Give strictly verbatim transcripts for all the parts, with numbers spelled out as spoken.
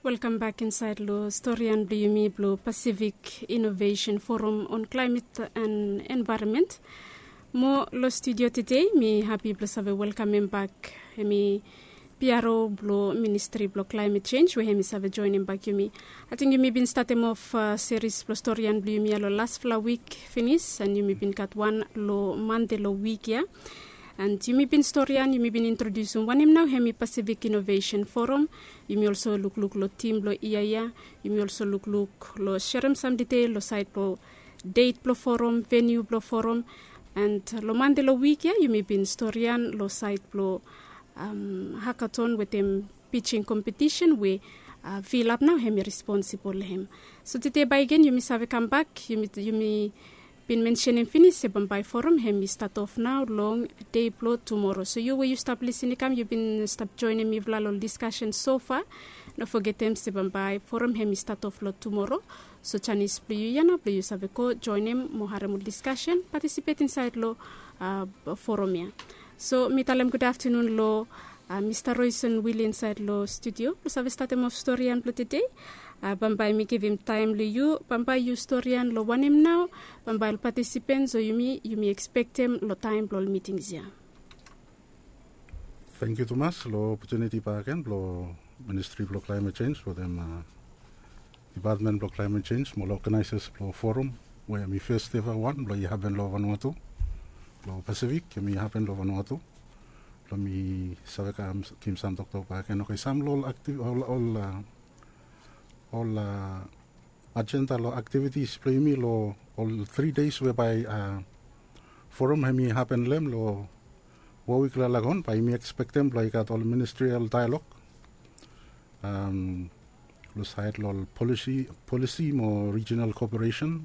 Welkam bak insaed long storian blong yumi blong Pacific Innovation Forum on Climate and Environment. Mo long studio tede mi hapi blong save welkamem bak hemi P R O blong Ministri blong Climate Change we hemi save joenem bak yumi. Ating yumi bin statem of seris blong storian blong yumi ya long lasfala wik finis, and yumi bin gat wan long Mande long wik ya. And yumi bin storian, yumi bin introdiusim wanem nao hemi Pacific Innovation Forum. Yumi olso lukluk long tim blong yia ya. Yumi olso lukluk long serem sam detail long saed blong det blong forum, veniu blong forum. And long Mande long wik ya yumi bin storian long saed blong hakaton wetem pijing kompetisen we Vilap nao hemi responsibol long hem. So tede bae gen yumi save kambak, yumi bin mensenem finis se bambae forum hemi stat of nao long dei blong tumoro. So yu we yu stap lisin i kam, yu bin stap joenem mifala long diskasen sofa, no fogetem se bambae forum hemi stat of long tumoro. So janis blong yu ya nao blong yu save go joenem mo harem ol diskasen, patisipet insaed long forum ya. So mi talem gud aftanun long Mista Roison Wili insaed long studio blong save statem of storian blong tede. Bambae mi givim taem long yu, bambae yu storian long wanem nao bambae ol patisipens o yumi yumi ekspektem long taem blong ol mitings ya. Tangkiu tumas long opotuniti bakegen blong Ministri blong Climate Change wetem Dipatmen blong Climate Change mo ol oganaesas blong forum we hemi fes eva wan blong i hapen long Vanuatu, long Pasifik hemi hapen long Vanuatu. Blong mi save kam givim sam toktok bakegen. Oke, sam long ol aktiv ol ol ajenda long aktivitis blong yumi long ol tri deis we bae forum hemi hapen long hem long Warwick Lalagon, bae yumi ekspektem blong i gat ol ministrial dialog long saed long ol polisi mo rijinal koperesen,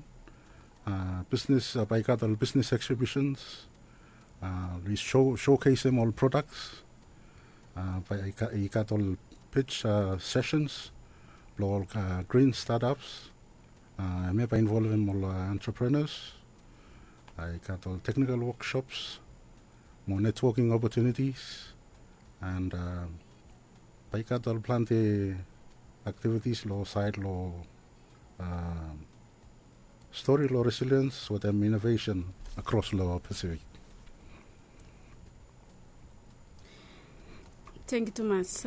bisnes, bae i gat ol bisnes eksibisens, shokeisem ol prodaks, bae i gat ol pij sesens blong ol grin stataps. Hemia bae involvem ol antreprenas, i gat ol teknikal woksops mo netwoking opotunitis, and bae i gat ol plante aktivitis long saed long stori long resiliens wetem inovesen akros long Pasifik. Tangkiu tumas.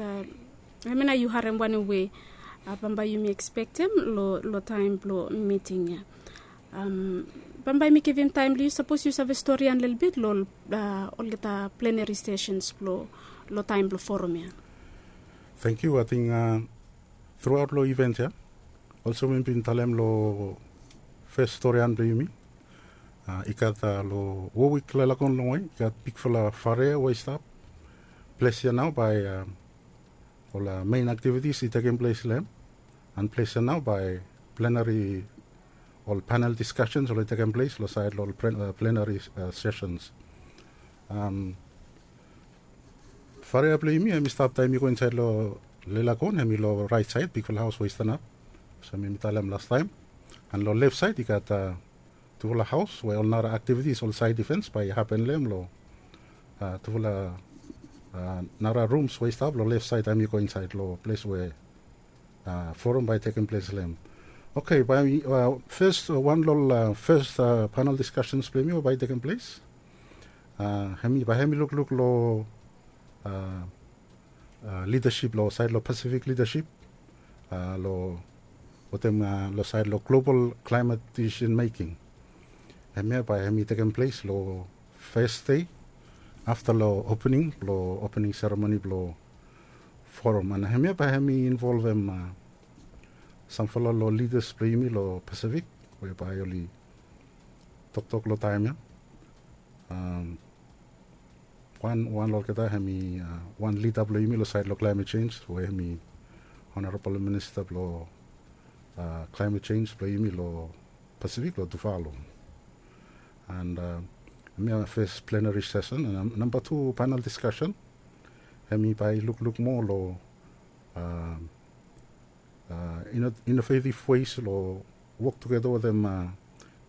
Hemia nao yu harem wanem we bambae yumi ekspektem long taem blong miting ya. Bambae mi givim taem long yu, sapos yu save storian lelebet long olgeta plenari sesens blong long taem blong forum ya. Tangkiu. Ating truaot long iven ya, olsem mi bin talem long fes storian blong yumi, i gat long Warwick Lalagon longwe i gat bigfala faria we i stap. Ples ya nao bae ol mein aktivitis i tekem ples long hem. And ples ya nao bae plenari ol panel diskasens oli tekem ples long saed long ol plenari sesens. Faria blong yumi hemi stap taem yu go insaed long Lalagon, hemi long raet saed, bigfala haos we i stanap olsem mi talem lastaem. And long lef saed i gat tufala haos we ol nara aktivitis, ol saed ivens bae i hapen long hem long tufala nara rums we i stap long lef saed taem yu go insaed long ples we forum bae i tekem ples long hem. Oke, bae fes wan long ol fes panel diskasens blong yumi we bae i tekem ples, hemi bae hemi lukluk long lidasip long saed long Pasifik lidasip long wetem long saed long global klaemet disisen meking. Hemia bae hemi tekem ples long fes dei afta long opening blong opening seremoni blong forum. And hemia bae hemi involvem samfala long lidas blong yumi long Pasifik we bae oli toktok long taem ya. Wan wan long olgeta hemi wan lida blong yumi long saed long klaemet sens we hemi Honorabol Minista blong klaemet sens blong yumi long Pasifik long Tuvalu. And hemia fes plenari sesen. And namba tu panel diskasen hemi bae i lukluk moa long inovetiv wes long wok tugeta wetem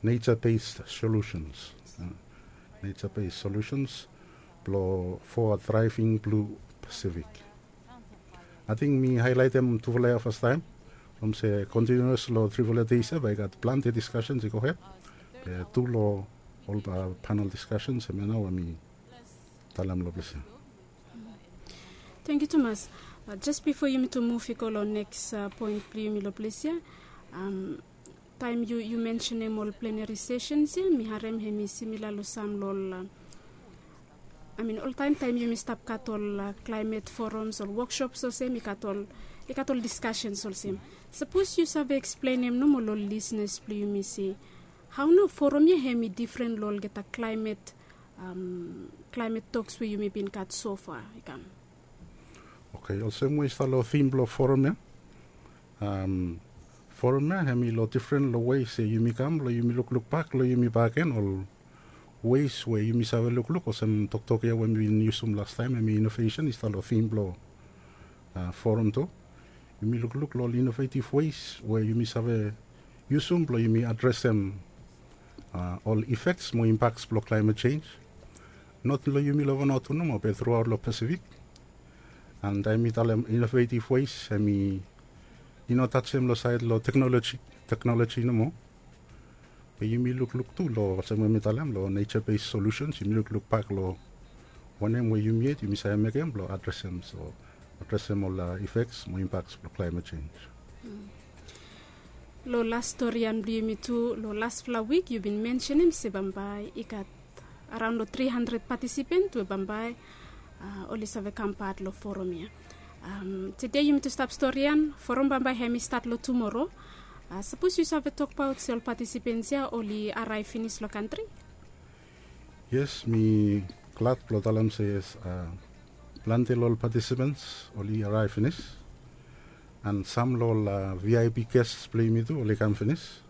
nature based solutions, nature based solutions blong for a thriving blue Pacific. Ating mi haelaetem tufala ya fastaem from se kontinius long trifala deis ya bae i gat plante diskasens i gohed. Be tu long ol panel diskasens hemia nao we mi talem long ples ya. Tangkiu tumas. Jes bifo yumi tu muv i go long neks poen blong yumi long ples ya, taem yu mensenem ol pleneri sesens ya mi harem hem i simila long sam long ol, amin oltaem taem yumi stap gat ol klaemet foroms ol woksops olsem i gat ol i gat ol diskasens olsem. Sapos yu save eksplenem nomo long ol lisnas blong yumi se hao nao forum ya hem i difren long olgeta klaemet klaemet toks we yumi bin gat sofa i kam. Oke, olsem we i stap long tim blong forum ya. Forum ya hem i long difren long wei se yumi kam long yumi lukluk bak long yumi bakegen ol weis we yumi save lukluk olsem toktok ya we mi bin yusum lastaem hem i inovesen i stap long tim blong forum tu. Yumi lukluk long ol inovetiv weis we yumi save yusum blong yumi adresem ol ifeks mo impaks blong klaemet sens. Not long yumi long vanua tu nomo be truaot long pasifik. An taem mi talem inovetiv weis hem i no tajem long saed long teknoloji nomo. Be yumi lukluk tu long olsem we mi talem long neja bes solusens yumi lukluk bak long wanem we yumi yet yumi save mekem blong adresem so adresem ol ifeks mo impaks blong klaemet sens. Long las storian blong yumi tu long lasfala wik yu bin mensenem se bambae i gat araon long tri handred patisipent we bambae oli save kam pat long forum ya. Tede yumi tu stap storian forum bambae hem i stat long tumoro. Sapos yu save tokbaot se ol patisipens ya oli araev finis long kantri. Yes, mi glad blong talem se yes, plante long ol patisipens oli araev finis. An sam long ol vip ges blong yumi tu oli kam finis.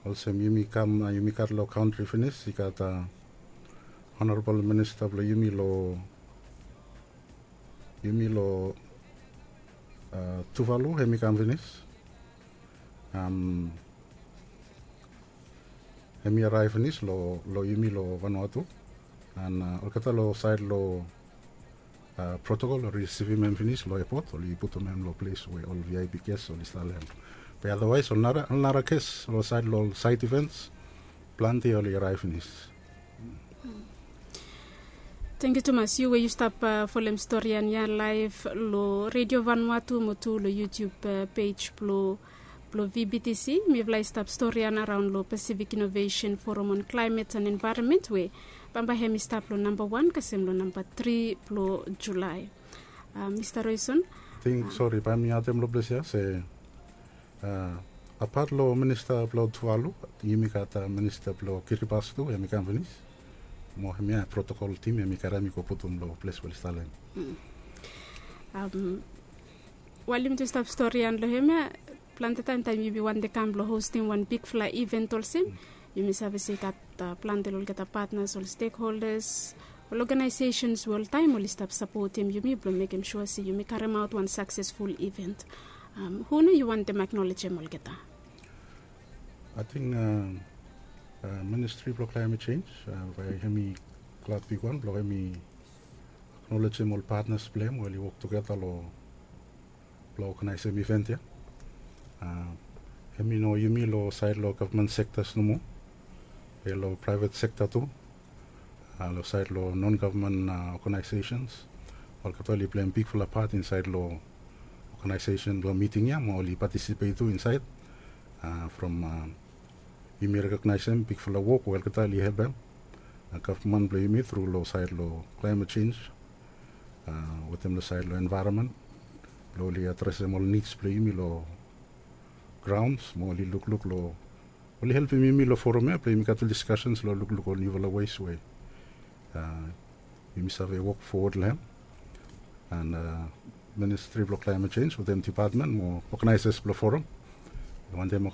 Olsem yumi kam yumi gat long kantri finis i gat honorabol minista blong yumi long yumi long tuvalu hem i kam finis. Hem i araev finis long yumi long vanua tu. An olgeta long saed long protokol oli risivim hem finis long epot oli putum hem long ples we ol vip ges oli stap long hem. Be adawaes ol nara ges long saed long ol saed ivens plante oli araev finis. Tangkiu tumas yu we yu stap folem storian ya laev long redio vanua tu mo tu long yutub pej blong blong vbtc. Mifala i stap storian araon long pasifik inovesen forum on klaemet an envaeronmen we bambae hem i stap long namba wan kasem long namba tri blong julae. Mista roison. Ating sori bae mi adem long ples ya se apat long minista blong tuvalu yumi gat minista blong kiribas tu hem i kam finis. Mo hemia protokol tim hem i karem i go putum long ples we oli stap long hem. Wael yumi tu stap storian long hemia plante taem taem yumi wantem kam blong hostim wan bigfala iven olsem yumi save se i gat plante long olgeta patnas ol stekholdas ol oganaesesens we oltaem oli stap sapotem yumi blong mekem sua se yumi karemaot wan saksesful iven. Hu nao yu wantem aknolejem olgeta? Ating ministri blong klaemet sens bae hem i glad bigwan blong hem i aknolejem ol patnas blong hem we oli wok tugeta long blong oganaesem iven ya. Hem i no yumi long saed long gavman sektas nomo be long praevet sekta tu. Long saed long non gavman oganaesesens olgeta oli pleim bigfala pat insaed long oganaesesen blong miting ya mo oli patisipet tu insaed. From yumi rekognaesem bigfala wok we olgeta oli helpem gavman blong yumi tru long saed long klaemet sens wetem long saed long envaeronmen blong oli adresem ol nids blong yumi long graons mo oli lukluk long oli helpem yumi long forum ya blong yumi gat ol diskasens long lukluk ol niufala wes we yumi save wok fowod long hem. An ministri blong klaemet sens wetem dipatmen mo oganaesas blong forum wantem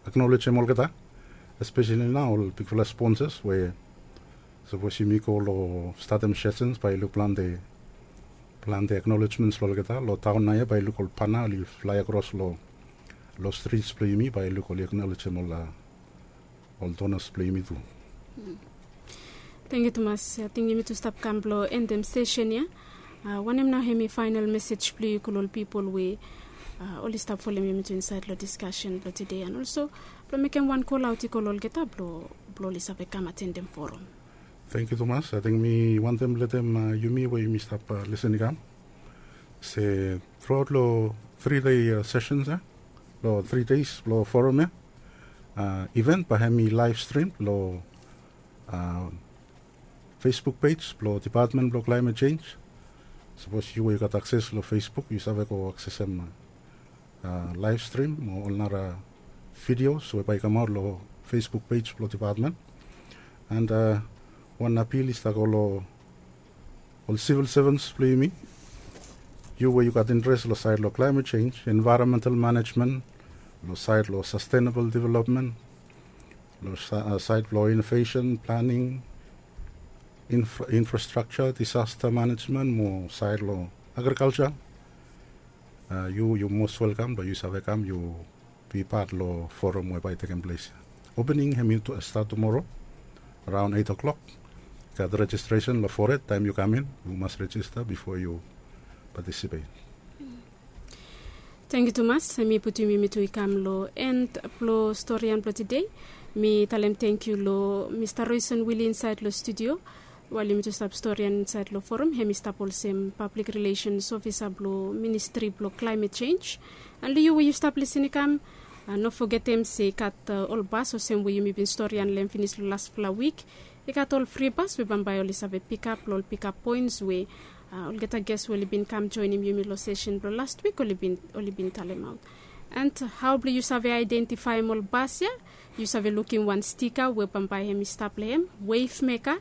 aknolejem olgeta espeseli nao ol bigfala sponsas we sapos yumi go long statem sesens bae i luk plante plante aknolejmens long olgeta long taon nao ya bae i luk ol pana oli flae akros long long strits blong yumi bae i luk oli aknolejem ol ol donas blong yumi tu. Tangkiu tumas. Ating yumi tu stap kam blong endem sesen ya. Wanem nao hem i faenol mesej blong yu i go long ol pipol we oli stap folem yumi tu insaed long diskasen blong tude, and olso blong mekem wan kol aot i go long olgeta blong oli save kam atendem forum. Tangkiu tumas. Ating mi wantem letem yumi we yumi stap lisen i kam se truaot long tri dei sesens ya long tri deis blong forum ya, iven bae hem i laev strim long Facebook pej blong depatmen blong klaemet jenj. Sapos yu we yu gat akses long Facebook yu save go aksesem laev strim mo ol nara vidios we bae i kamaot long Facebook pej blong depatmen. And wan apil i stap go long ol sivil sevens blong yumi. Yu we yu gat interes long saed long klaemet jenj, envaeronmental manejmen, long saed long sastenabol developmen, long saed blong inovesen planing, infrastrakja, disasta manejmen mo saed long agrikalja, yu yu mos welkam blong yu save kam yu bi pat long forum we bae i tekem ples ya. Opening hem i stat tumoro araon eit o'klok. Gat rejistresen long fored taem yu kam in, yu mas rejista bifo yu patisipet. Tangkiu tumas. Hem i putum yumi tu i kam long en blong storian blong tude. Mi talem tangkiu long Mista Roison Wili insaed long studio. Wael yumi tu stap storian insaed long forum, hem i stap olsem pablik rilesens ofisa blong ministri blong klaemet jenj. And long yu we yu stap lisen i kam, no fogetem se i gat ol bas olsem we yumi bin storian long hem finis long lasfala wik. I gat ol fri bas we bambae oli save pikap long ol pikap poens we olgeta ges we oli bin kam joenem yumi long sesen blong last wik oli bin talemaot. And hao blong yu save aedentifaem ol bas ya? Yu save lukim wan stika we bambae hem i stap long hem, wef meka.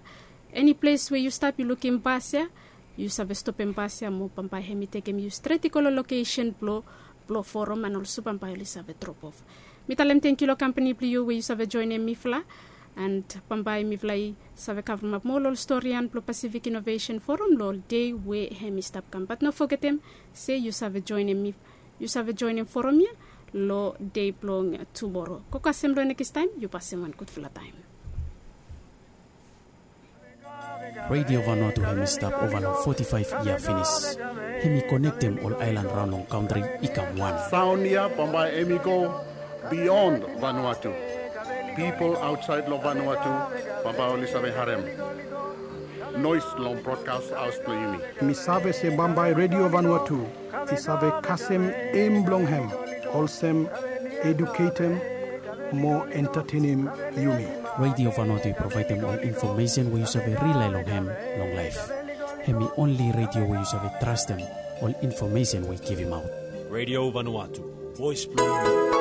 Eni ples we yu stap yu lukim bas ya, yu save stopem bas ya mo bambae hem i tekem yu stret i go long lokesen blong blong forum and olso bambae oli save dropof. Mi talem tangkiu long kampani blong yu we yu save joenem mifala. And bambae mifala i save kavremap moa long ol storian blong Pasifik Inovesen Forum long ol dei we hem i stap kam, bat no fogetem se yu save joenem forum ya long dei blong tumoro. Go kasem long nekis taem, yu pasem wan gudfala taem. Redio Vanuatu hem i stap ova long foti-faef yia finis. Hem i konektem ol aelan raon long kantri i kam wan. Saon ya bambae hem i go bion Vanuatu. Pipol aotsaed long Vanuatu bambae oli save harem noes long brodkas haos blong yumi. Mi save se bambae Redio Vanuatu i save kasem em blong hem olsem eduketem mo entatenem yumi. Redio Vanuatu i provaedem ol infomesen we yu save rilae long hem long laef. Hem i onli redio we yu save trastem ol infomesen we i givimaot. Redio Vanuatu, voes blong yumi.